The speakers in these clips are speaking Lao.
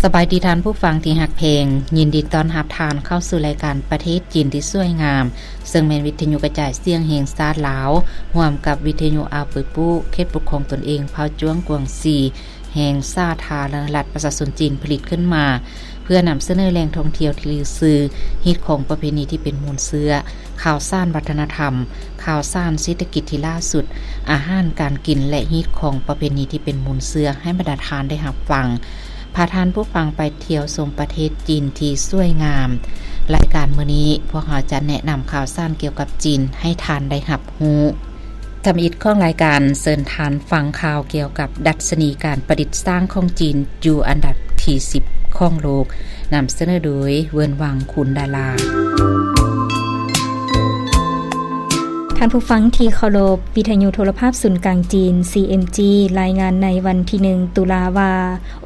ສະບາຍດີທ່ານຜູ້ຟັງທີ່ຮັກແພງ, ຍິນດີຕ້ອນຮັບທ່ານເຂົ້າສູ່ລາຍການປະເທດຈີນທີ່ສວຍງາມ, ເຊິ່ງແມ່ນວິທະຍຸກະຈາຍສຽງແຫ່ງຊາດລາວ, ຮ່ວມກັບວິທະຍຸອາເປີປູ ເຂດປົກຄອງຕົນເອງເຜົ່າຈວງກວາງຊີ ແຫ່ງສາທາລະນະລັດປະຊາຊົນຈີນຜະລິດຂຶ້ນມາ ເພື່ອນຳສະເໜີແຫຼ່ງທ່ອງທ່ຽວທີ່ລືຊື່, ຮີດຄອງປະເພນີທີ່ເປັນມູນເຊື້ອ, ຂ່າວສານວັດທະນະທຳ, ຂ່າວສານເສດຖະກິດທີ່ລ່າສຸດ, ອາຫານການກິນ ແລະ ຮີດຄອງປະເພນີທີ່ເປັນມູນເຊື້ອໃຫ້ບັນດາທ່ານໄດ້ຮັບຟັງ. ພາທ່ານຜູ້ຟັງໄປທ່ຽວຊົມປະເທດຈີນທີ່ສວຍງາມ. ລາຍການມື້ນີ້ ພວກເຮົາຈະແນະນຳຂ່າວສານກ່ຽວກັບຈີນໃຫ້ທ່ານໄດ້ຮັບຮູ້. ທຳອິດຂອງລາຍການ ເຊີນທ່ານຟັງຂ່າວກ່ຽວກັບດັດຊະນີການປະດິດສ້າງຂອງຈີນຢູ່ອັນດັບທີສິບຂອງໂລກ, ນຳສະເໜີໂດຍ ເວີນຫວັງ ຄູນດາລາ. ທ່ານຜູ້ຟັງທີ່ເຄົາລົບ, ວິທະຍຸໂທລະພາບສູນກາງຈີນ ຊີເອັມຈີ ລາຍງານໃນວັນທີໜຶ່ງ ຕຸລາວ່າ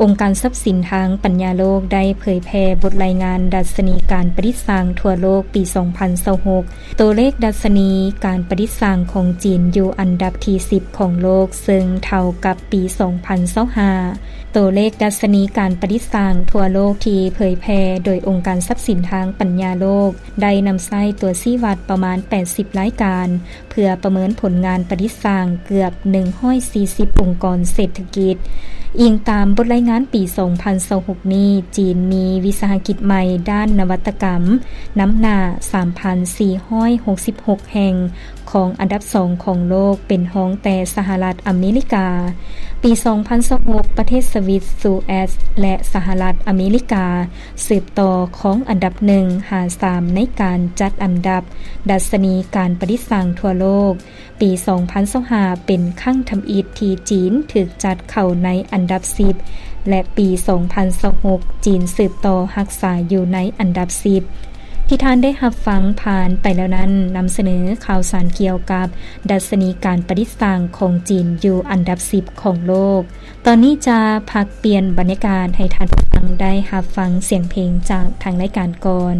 ອົງການຊັບສິນທາງປັນຍາໂລກໄດ້ເຜີຍແຜ່ບົດລາຍງານດັດຊະນີການປະດິດສ້າງທົ່ວໂລກປີສອງພັນຊາວຫົກ. ໂຕເລກດັດຊະນີການປະດິດສ້າງຂອງຈີນຢູ່ອັນດັບທີສິບຂອງໂລກ, ເຊິ່ງເທົ່າກັບປີສອງພັນຊາວຫ້າ. ໂຕເລກດັດຊະນີການປະດິດສ້າງທົ່ວໂລກທີ່ເຜີຍແຜ່ໂດຍອົງການຊັບສິນທາງປັນຍາໂລກ ໄດ້ນຳໃຊ້ຕົວຊີ້ວັດປະມານແປດສິບລາຍການ ເພື່ອປະເມີນຜົນງານປະດິດສ້າງເກືອບໜຶ່ງຮ້ອຍສີ່ສິບອົງກອນເສດຖະກິດ. ອີງຕາມບົດລາຍງານປີສອງພັນຊາວຫົກນີ້, ຈີນມີວິສາຫະກິດໃໝ່ດ້ານນະວັດຕະກຳນຳໜ້າສາມພັນສີ່ຮ້ອຍຫົກສິບຫົກແຫ່ງ, ຄອງອັນດັບສອງຂອງໂລກ ເປັນຮອງແຕ່ສະຫະລັດອາເມລິກາ. ປີສອງພັນຊາວຫົກ ປະເທດສະວິດ, ສະວິດ, ແລະ ສະຫະລັດອາເມລິກາ ສືບຕໍ່ຄອງອັນດັບໜຶ່ງຫາສາມໃນການຈັດອັນດັບດັດຊະນີການປະດິດສ້າງທົ່ວໂລກ. ປີສອງພັນຊາວຫ້າ ເປັນຄັ້ງທຳອິດທີ່ຈີນຖືກຈັດເຂົ້າໃນອັນດັບສິບ ແລະ ປີສອງພັນຊາວຫົກ ຈີນສືບຕໍ່ຮັກສາຢູ່ໃນອັນດັບສິບ. ທີ່ທ່ານໄດ້ຮັບຟັງຜ່ານໄປແລ້ວນັ້ນ ນຳສະເໜີຂ່າວສານກ່ຽວກັບດັດຊະນີການປະດິດສ້າງຂອງຈີນຢູ່ອັນດັບສິບຂອງໂລກ. ຕອນນີ້ຈະພັກປ່ຽນບັນຍາກາດໃຫ້ທ່ານຜູ້ຟັງໄດ້ຮັບຟັງສຽງເພງຈາກທາງລາຍການກ່ອນ.